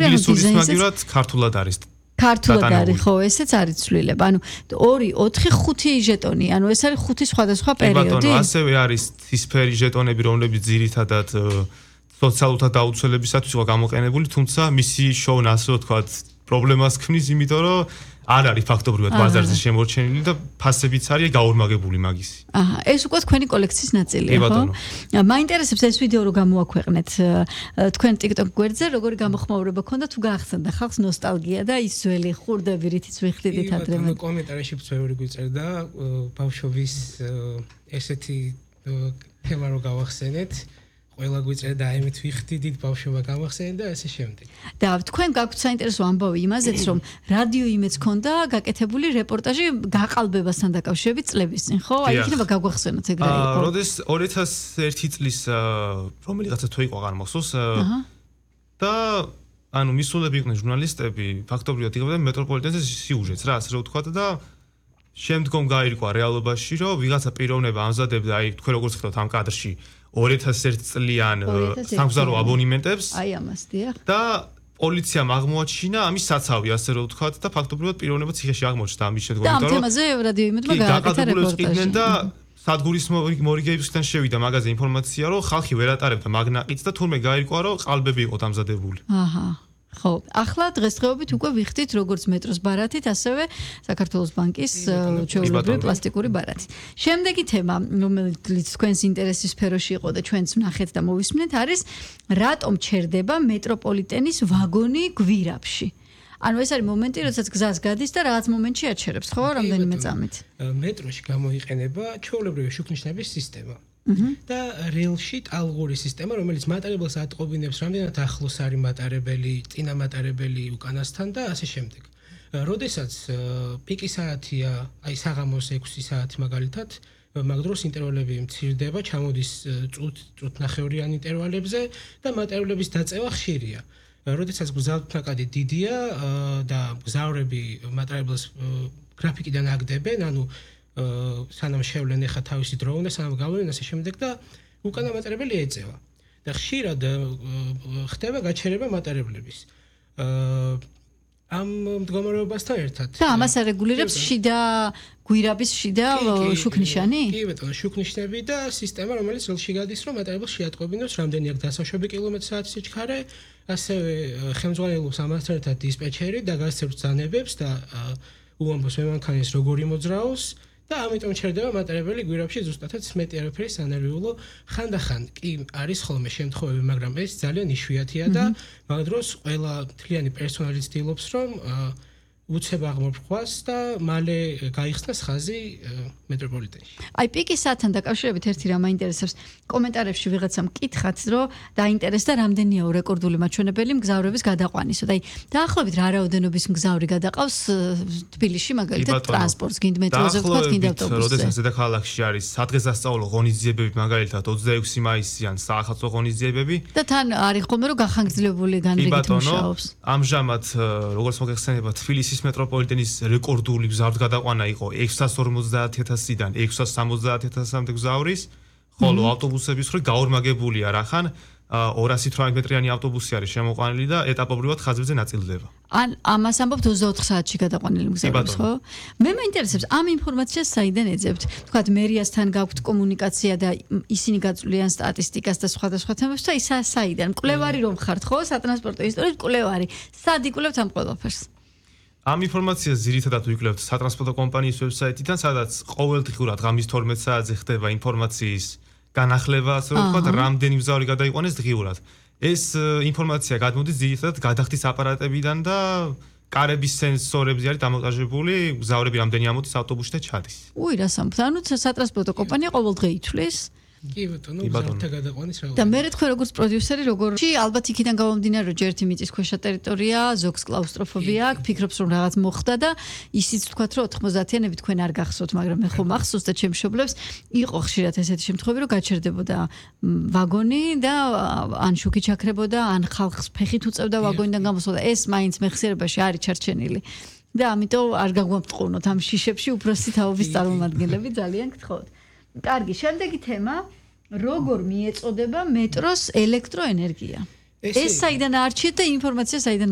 ინგლისურის მაგივრად ქართულად არის. ქართულად არის, ხო, ესეც არის ცვლილება. ანუ 2, 4, 5 ჟეტონი. ანუ ეს არის 5 სხვადასხვა პერიოდი. ბატონო, ასევე არის ცისფერი ჟეტონები, რომლებიც ძირითადად სოციალურთა დაუცველებისათვის იყო გამოყენებული, თუმცა მისი შოვნა, ასე ვთქვათ, პრობლემას ქმნის, იმიტომ რომ არ არის ფაქტობრივად ბაზარზე შემორჩენილი და ფასებიც არის გაორმაგებული მაგისი. აჰა, ეს უკვე თქვენი კოლექციის ნაწილია, ხო? მაინტერესებს ეს ვიდეო რო გამოაქვეყნეთ თქვენ TikTok გვერდზე, როგორი გამოხმაურება ქონდა თუ გაახსენდა ხალხს ნოსტალგია და ის ძველი ხურდები, რითიც ვიხდიდით ადრე. კომენტარებში ბევრი გვიწერდა ბავშვობის ესეთი თემა რო გავახსენეთ. ყველა გვიწერდა აიმით ვიხდიდით ბავშვობა გამახსენეთ და ასე შემდეგ. და თქვენ გაქვთ საინტერესო ამბავი იმაზეც, რომ რადიო იმეც ქონდა გაკეთებული რეპორტაჟი გაყალბებასთან დაკავშირებით წლების წინ, ხო? აი იქნება გაგვახსენოთ ეგრე იყო. როდეს 2001 წლის რომელიღაცა თუ იყო აღარ მახსოვს და ანუ მისულები იყვნენ ჟურნალისტები, ფაქტობრივად იღებდნენ მეტროპოლიტენზე სიუჟეტს რა, ასე რომ ვთქვათ და შემდგომ გაირკვა რეალობაში, რომ ვიღაცა პიროვნება ამზადებდა აი თქვენ როგორც ხედავთ ამ კადრში 2001 წლიან სამგზავრო აბონემენტებს. აი ამას, დიახ. და პოლიციამ აღმოაჩინა ამის საცავი, ასე რომ ვთქვათ და ფაქტობრივად პიროვნება ციხეში აღმოჩნდა ამის შედგომა. და ამ თემაზე რადიო იმედმა გააკეთა რეპორტაჟი. და სადგურის მორიგეებისგან შევიდა მაგაზე ინფორმაცია, რომ ხალხი ვერ ატარებდა მაგნაყიდს და თურმე გაირკვა, რომ ყალბები იყო დამზადებული. აჰა. ხო, ახლა დღესდღეობით უკვე ვიხდით როგორც მეტროს ბარათით, ასევე საქართველოს ბანკის ჩვეულებრივი პლასტიკური ბარათით. შემდეგი თემა, რომელიც თქვენს ინტერესის სფეროში იყო და ჩვენც ვნახეთ და მოვისმენთ, არის რატომ ჩერდება მეტროპოლიტენის ვაგონი გვირაბში. ანუ ეს არის მომენტი, როდესაც გზას გადის და რაღაც მომენტში აჩერებს, ხო, რამდენიმე წამით. მეტროში გამოიყენება ჩვეულებრივი შუქნიშნების სისტემა. და რეილში ტალღური სისტემა, რომელიც მატარებელს ატყობინებს რამდენად ახლოს არის მატარებელი, წინა მატარებელი უკანასთან და ასე შემდეგ. როდესაც პიკი საათია, აი საღამოს 6 საათი მაგალითად, მაგ დროს ინტერვალები მცირდება, ჩამოდის წუთნახევრიან ინტერვალებზე და მატარებლების დაწევა ხშირია. როდესაც გზავნაკადი დიდია და გზავრები მატარებელს გრაფიკიდან აგდებენ, ანუ სანამ შევლენ ახლა თავისი დრო უნდა სანამ გავლენ ასე შემდეგ და უკანა მატარებელი ეწევა და ხშირად ხდება გაჩერება მატარებლების ამ მდგომარეობასთან ერთად და ამას არეგულირებს შიდა გვირაბის შიდა შუქნიშანი? კი ბატონო, შუქნიშნები და სისტემა, რომელიც ელში გადის, რომ მატარებელს შეატყობინოს რამდენი აქვს დასაშვები კილომეტრ-საათის სიჩქარე, ასევე ხელმძღვანელობს ამასთან ერთად დისპეჩერი და გასცემს ბრძანებებს და უამბობს მემანქანის როგორი მოძრაობს და ამიტომ ჩერდება მატარებელი გვირაბში ზუსტადაც მეტი არაფერი სანერვიულო ხანდახან კი არის ხოლმე შემთხვევები, მაგრამ ეს ძალიან იშვიათია და მაგ დროს ყველა მთლიანი პერსონალი ცდილობს, რომ უცებ აღმოფხვას და მალე გაიხსნას ხაზი მეტროპოლიტენში. აი პიკის საათთან დაკავშირებით ერთი რამ მაინტერესებს. კომენტარებში ვიღაცამ კითხათ, რომ დაინტერესდა რამდენია რეკორდული მაჩვენებელი მგზავრების გადაყვანისო. და აი დაახლოებით რა რაოდენობის მგზავრი გადაყავს თბილისში მაგალითად ტრანსპორტს, გინდ მეტროზე ვთქვათ, გინდ ავტობუსზე. როდესაც დედაქალაქში არის სადღესასწაულო ღონისძიებები, მაგალითად 26 მაისიან საახალწლო ღონისძიებები და თან არის ხოლმე რომ გახანგრძლივებული განრიგით მუშაობს. ამჟამად როგორც მოგეხსენება თბილისის მეტროპოლიტენის რეკორდული მგზავრთა გადაყვანა იყო 650.000-დან 670.000-მდე მგზავრის, ხოლო ავტობუსების ხრი გაორმაგებულია რახან 218 მეტრიანი ავტობუსი არის შემოყვანილი და ეტაპობრივად ხაზებზე ნაწილდება. ან ამას ამბობთ 24 საათში გადაყვანილი მგზავრების, ხო? მე მაინტერესებს ამ ინფორმაციას საიდან ეძებთ? თქვათ მერიასთან გაქვთ კომუნიკაცია და ისინი გაწვლიან სტატისტიკას და სხვადასხვა თემებს და ისა საიდან? მკვლევარი რომ ხართ, ხო? სატრანსპორტო ისტორიის მკვლევარი. სად იკვლევთ ამ ყველაფერს? ამ ინფორმაციას ძირითადად ვიკვლევთ სატრანსპორტო კომპანიის ვებსაიტიდან, სადაც ყოველდღიურად ღამის 12 საათზე ხდება ინფორმაციის განახლება, ასე რომ ვთქვათ, რამდენი მგზავრი გადაიყვანეს დღიურად. ეს ინფორმაცია გადმოდის ძირითადად გადახდის აპარატებიდან და კარების სენსორებზე არის დამონტაჟებული, მგზავრები რამდენი ამოდის ავტობუსში და ჩადის. უი, რა სამბობთ? ანუ სატრანსპორტო კომპანია ყოველდღე ითვლის კი ბატონო, მგზავრთა გადაყვანის რაოდენობა. და მე თქვენ როგორც პროდიუსერი როგორი ალბათ იქიდან გამომდინარე რომ ჯერ ერთი მიწისქვეშა ტერიტორია, ზოგს კლაუსტროფობია აქვს, ფიქრობს რომ რაღაც მოხდა და ისიც თქვათ რომ 90-იანები თქვენ არ გახსოვთ, მაგრამ მე ხომ ახსოვს და ჩემს მშობლებს იყო ხშირად ესეთი შემთხვევები რომ გაჩერდებოდა ვაგონი და ან შუქი ჩაქრებოდა, ან ხალხს ფეხით უწევდა ვაგონიდან გამოსვლა და ეს მაინც მეხსიერებაში არის ჩარჩენილი. და ამიტომ არ გაგვამტყუნოთ ამ შიშებში უფროსი თაობის წარმომადგენლები, ძალიან გთხოვთ. კარგი, შემდეგი თემა, როგორ მიეწოდება მეტროს ელექტროენერგია? ეს საიდან არჩიეთ და ინფორმაცია საიდან